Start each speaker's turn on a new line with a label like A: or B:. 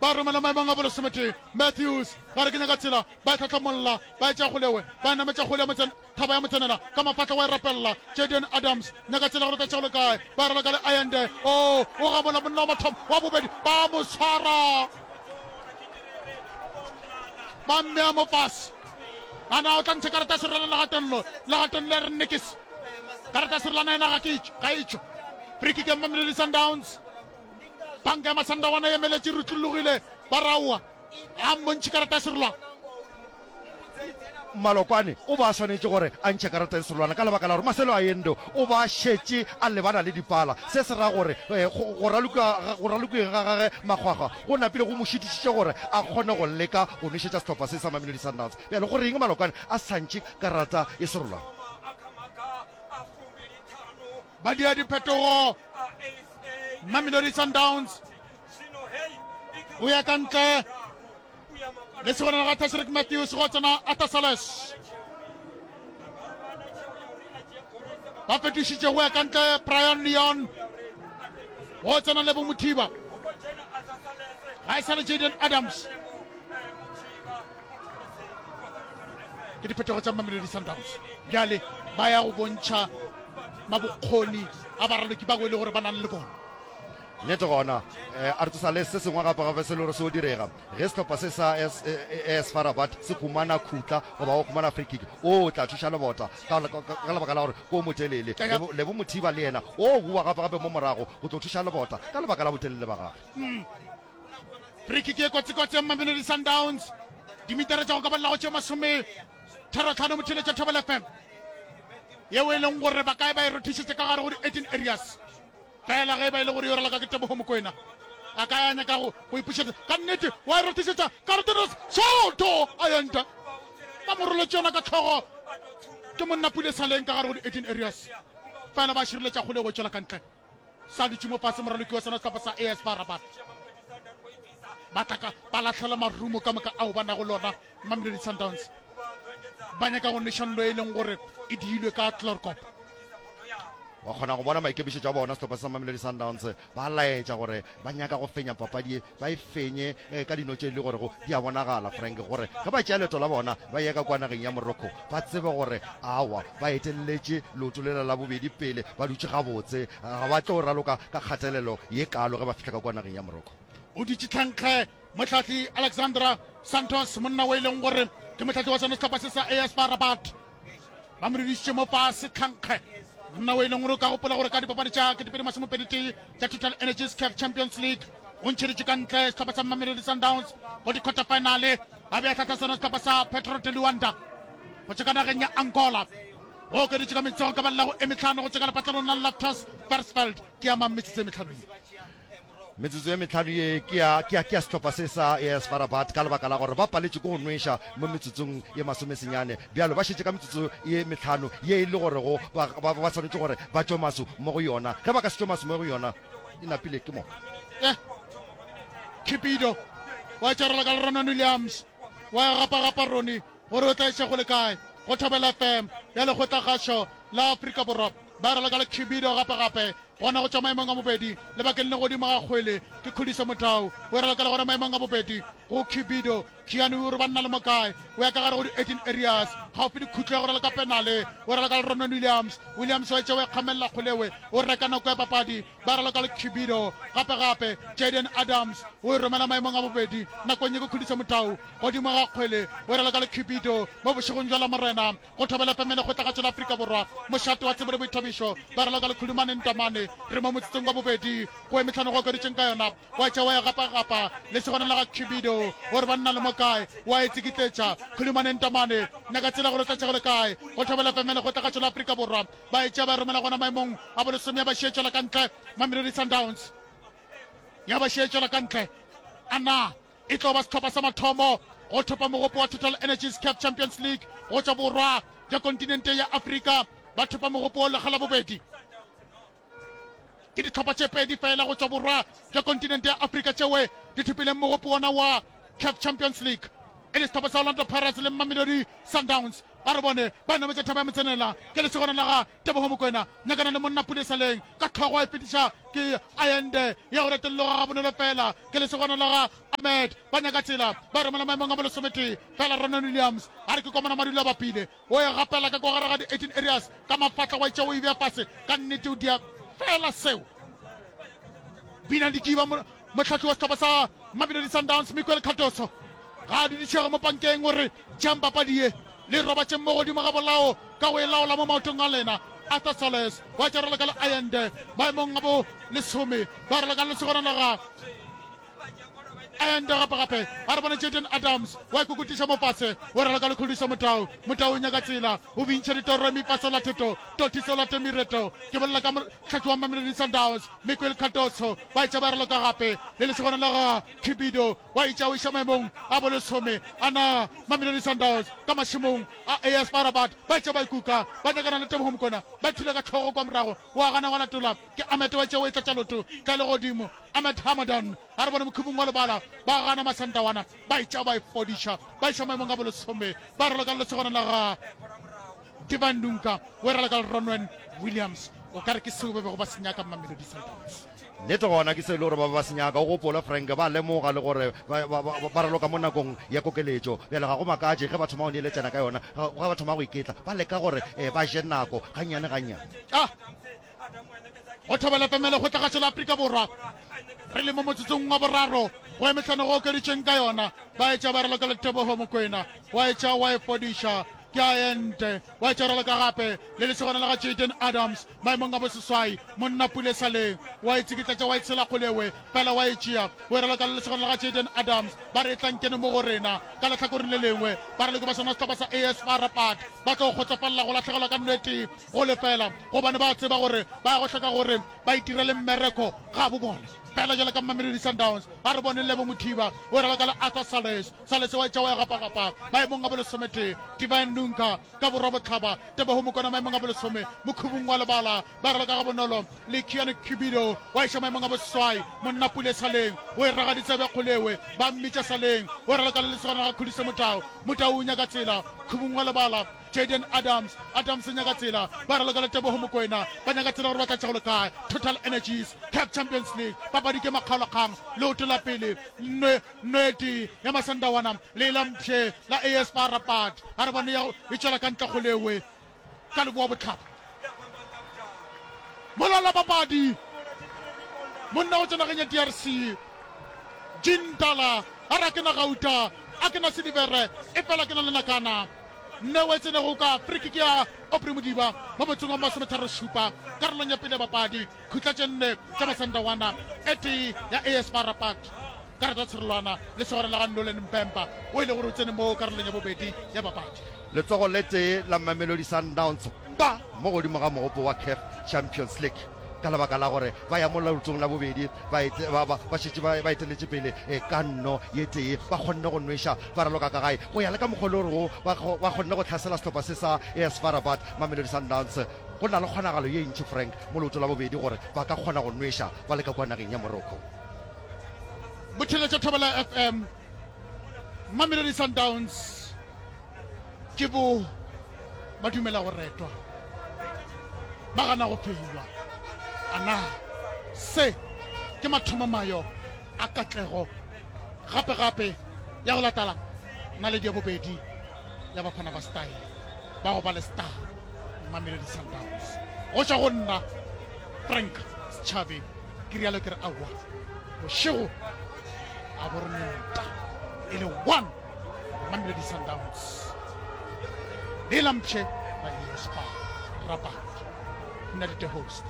A: Ba romela maemong a bolesometee. Matthews gare ke nyaka tsela, ba e hlahlamolla, ba e tšea kgolewe, ba e nametša kgole ya motsen, thaba ya motsenela, ka mafahla wa e rapelela. Jayden Adams, nyaka tsela gore o tla tšea go le kae, ba e raloka le Allende. Oo, o gamola monna wa mathomo, wa bobedi, ba mo swara. Ba mmea mo fase. A na o tla ntšha karata ya serolwana legatong lo? Legatong le re nikis. Karata ya serolwana yena ga ke itšo, ga itšo. Free kick ya Mamelodi Sundowns. Banka ya Masandawana e emeletše e rutlologile, ba raowa. A mmontšhe karata ya serolwana.
B: Malokwane o ba a swanetše gore a ntšhe karata ya serolwana ka lebaka la gore Marcelo Allende o ba šetše a lebana le dipala. Se se ra gore go ralokiweng ga gage makgwakgwa go napile go mo šitišitše gore a kgone go leka go nwešetša sehlopha se sa Mamelodi Sundowns. Bjale go reng Malokwane a sa ntšhe karata ya serolwana?
A: Ba dia diphetogo. Mamelodi Sundowns o ya ka ntle le segona ga Tashreeq Matthews go tsena Arthur Sales. Ba fetošitše go ya ka ntle Brian Leon go tsena Lebo Mothiba. Ga e sa le Jayden Adams. Ke diphetogo tša Mamelodi Sundowns. Bjale ba ya go bontšha mabokgoni a baraloki ba go e le gore ba nang le bona.
B: Nnete gona, eh, a re tsosa le se sengwe gape gape se le gore se o direga ge sehlopha se sa AS FAR Rabat se humana khutla goba go humana free kick, o tla thuša lebota ka ka lebaka la gore ke o motelele. Lebo, Lebo Mothiba le yena o boa gape gape mo morago go tlo thuša lebota ka lebaka la botelele ba gagwe.
A: Free kick ye kotsi-kotsi ya Mamelodi Sundowns, dimitara tša go ka balela go tše masome tharo-tlhano motheeletša Thobela FM yeo e leng gore ba kae ba e rothišetše ka gare go di-18 areas. Fela ge e ba e le gore yo raloka ke Teboho Mokoena, a ka ya nyaka go go ipušetša. Ka nnete wa e rothišetša Cardenas Soto a ya ntle. Ba mo roletše yona ka hlogo ke monna Pule Saleng ka gare go di-18 areas. Fela ba šireletša kgole go tšwela ka ntle. Sa dutše mo fase moraloki wa sona sehlopha sa AS FAR Rabat. Ba tla ka ba lahlela marumo ka moka ao ba nago lona Mamelodi Sundowns. Ba nyaka go nweša nlo e leng gore e diilwe ka Chloorkop.
B: Wa kgona go bona maikemišetšo a bona sehlopha sa Mamelodi Sundowns ba laetša gore ba nyaka go fenya papadi ye, ba e fenye ka dino tše e le gorego di a bonagala. Frank gore ge ba tšea leeto la bona ba ye ka kua nageng ya Morocco ba tsebe gore awa ba etelletše leoto lela la bobedi pele, ba dutše gabotse, ga ba tlo raloka ka kgatelelo ye kaalo ge ba fihla ka kua nageng ya Morocco.
A: O dutše tlhankge mohlahli Alexandra Santos, monna o e leng gore ke mohlahli wa sona sehlopha se sa AS FAR Rabat. Ba mo dudišitše mo fase tlhankge, monna o e leng gore o ka gopola gore ka dipapadi tša 2021 tša Total Energies CAF Champions League o ntšheditše ka ntle sehlopha sa Mamelodi Sundowns go di-quarter finale, a be a hlahla sona sehlopha sa Petro de Luanda go tšwa ka nageng ya Angola. Go okeditše ka metsogo ka balela go e mehlano go tšwa ka lepatlelong la Loftus Versfeld. Ke ya mang metsotso e mehlano ye?
B: Metsotso ye mehlano ye ke ya, ke ya, ke ya sehlopha se sa AS FAR Rabat ka lebaka la gore ba paletšwe ke go nweša mo metsotsong ye masomesenyane. Bjalo ba šetše ka metsotso ye mehlano ye e le gorego ba, ba, ba swanetše gore ba tšwe maso mo go yona. Ge ba ka se tšwe maso mo go yona, e napile ke moka.
A: Eh, Cupido wa tšarela ka Ronan Williams wa ya gapa-gapa Ronnie gore o tla iša go le kae go Thobela FM ya Lekgotlakgašo la Afrika Borwa. Ba raloka le Cupido gape-gape Gona go tšwa maemong a bobedi lebakeng le godimo ga kgwele ke Khuliso Motau. O e raloka le gona maemong a bobedi go Cupido. Keanu o re banna le mo kae? O ya ka gare go di-18 areas gaufi le khutlo ya go raloka penale. O raloka le Ronwen Williams. Williams wa e tšea o e kgamelela kgolewe. O reka nako ya papadi. Ba raloka le Cupido gape gape. Jayden Adams o e romela maemong a bobedi nakong ye ke Khuliso Motau godimo ga kgwele. O e raloka le Cupido mo bošegong bja Lamorena. Go thobela FM Lekgotlakgatšo la Afrika Borwa, mošate wa tsebo le boithabišo, ba raloka le Khulumane Ntamane. Re mo motsotsong wa bobedi go e mehlano go okeditšeng ka yona, wa tšea wa e gapagapa lesogana la ga Khibido gore banna le mo kae, wa e tsikitletša. Khulumane Ntamane, nyaka tsela gore o tla tšea go le kae. Go thobela FM Lekgotlakgatšo la Afrika Borwa, ba e tšea ba e romela gona maemong a bolesome ya ba šietšela ka ntle Mamelodi Sundowns ya ba šietšela ka ntle. A na E tlo ba sehlopha sa mathomo go thopa mogopo wa Total Energies CAF Champions League go tšwa borwa bja kontinente ya Afrika. Ba thopa mogopo wo lekga la bobedi. Ke dihlopha tše pedi fela go tšwa borwa bja kontinente ya Afrika tšewe di thopileng mogopo wona wa CAF Champions League, e le sehlopha sa Orlando Pirates le Mamelodi Sundowns. Ba re bone ba nametša thaba ya motsenela. Ke lesogana la ga Tebogo Mokoena, nyakana le monna Pule Saleng ka hlogo a e fetiša ke Ayende ya go retolloga gabonolo fela. Ke lesogana la ga Ahmed, ba nyaka tsela ba romela maemong a bolesometee fela. Ronan Williams a re ke komana madulo a bapile, o e gapela ka kwa gare ga di-18 areas ka mafatla wa itša o e bea fase. Ka nnete o dia fela seo. Bina Dikiba Mohlahli wa sehlopha sa Mamelodi Sundowns Miguel Cardoso ga a dudišege mo pankeng o re, Tšeang papadi ye le robatšeng mo godimo ga bolao ka go e laola mo maotong a lena. Arthur Sales wa tša raloka le Allende maemong a bo lesome ba raloka le lesogana la ga Allende gape gape a re bone Jayden Adams wa ikokotiša mo fase o raloka le Khuliso Motau. Motau o nyaka tsela o bintšha ditoro mi fa sola theto toti sola temireto ke bolela ka mohlahli wa Mamelodi Sundowns Miguel Cardoso ba etša ba raloka gape le lesogana la ga Cupido wa etša o iša maemong a bolesome a na Mamelodi Sundowns ka mašemong a AS FAR Rabat ba etša ba ikuka ba nyakana le Teboho Mokoena ba thula ka hlogo kwa morago wa gana wa latola ke Ahmed wa etša o e tlatša loto tla le godimo Ahmed Hamadan a re bone mokhubung wa lebala ba gana Masandawana ba etša ba e fodiša ba iša maemong a bolesome ba raloka le lesogana la ga Divan Dunka o e raloka le Ronwen Williams. O ka re ke seo ba bego ba se nyaka Mamelodi Sundowns.
B: Nnete gona ke se e le gore ba be ba se nyaka. O gopole Frank, ba lemoga le gore ba, ba, ba, ba raloka mo nakong ya kokeletšo. Bjale ga go makatše ge ba thoma go neeletšana ka yona, ge ba thoma go iketla, ba leka gore eh, ba je nako gannyane gannyane.
A: Ah! Go Thobela FM ya Lekgotlakgašo la Afrika Borwa, re le mo motsotsong wa boraro go emehlano go okeditšweng ka yona. Ba etša ba raloka le Teboho Mokoena, wa etša wa e fodiša ke a ente, wa etša raloka gape le lesogana la ga Jayden Adams maemong a boseswai, monna Pule Saleng wa e tsikitlatša wa e tshela kgolewe fela wa e tšea o e raloka le lesogana la ga Jayden Adams. Ba re etlang kene mo go rena. Ka lehlakoreng le lengwe baraloki ba sona sehlopha sa AS FAR Rabat ba tlo kgotsofalela go lahlegelwa ka nno e tee go lefela gobane ba tseba gore ba ya go hloka gore ba itirele mmereko gabo bona. Fela jalo ka Mamelodi Sundowns a re bone Lebo Mothiba o raloka le Arthur Sales. Sales wa etša wa ya gapagapa maemong a bolesometee. Divine Nunka ka borwa-bohlaba, Teboho Mokoena maemong a bolesome, Mokhubung wa lebala ba raloka gabonolo le Kian Cupido wa iša maemong a boseswai. Monna Pule Saleng o e raga ditsebe kgolewe ba mmitša Saleng o raloka le lesogana ga Khuliso Motau. Motau o nyaka tsela Khubung wa lebala. Jayden Adams, Adams o nyaka tsela, ba raloka le Teboho Mokoena, ba nyaka tsela gore ba tla tšego le kae. Total Energies CAF Champions League, papadi ke makgaolakgang, leoto la pele, nwe, nwete ya Masandawana le la mpšhe la AS FAR Rabat. A re bone ya e tšwela ka ntle kgolewe ka leboa bohlaba. Mola la papadi, monna go tšwa nageng ya DRC, Jean Tala, a re a ke na gauta, a ke na silivere, efela ke na le nakana. Neo e tsenego ka frikiki ya Aubrey Modiba mo motsong wa masometharošupa karolong ya pele ya papadi. Khutla tše nne tša Masandawana, e tee ya AS FAR Rabat. Karata tsherolwana le segwera la ga Nolan Mpemba o e le gore o tsene mo karolong ya bobedi ya papadi.
B: Letsogo le tee la Mamelodi Sundowns ba mo godimo ga mogopo wa CAF Champions League ka lebaka la gore ba ya mo leotong la bobedi ba, ba, ba, ba šetše ba, ba eteletše pele eh, ka nno ye tee. Ba kgonne go nweša ba raloka ka gae go ya le ka mokgwa le gorego ba, ba kgonne go hlasela sehlopha se sa AS FAR Rabat. Mamelodi Sundowns go na le kgonagalo ye ntši Frank mo leotong la bobedi gore ba ka kgona go nweša ba le ka kua nageng ya Morocco.
A: Motheeletša Thobela FM, Mamelodi Sundowns ke bo ba dumela go retwa, ba gana go feilwa. A na se ke mathomomayo a katlego gape-gape ya go latala naledi ya bobedi ya Bafana ba Style ba go ba le star Mamelodi Sundowns? Go tšwa go nna Frank Setšhabe ke rialo ke re aowa, bošego a bo re nta e le one. Mamelodi Sundowns le lampše ba ES FAR Rabat. Nna le the host.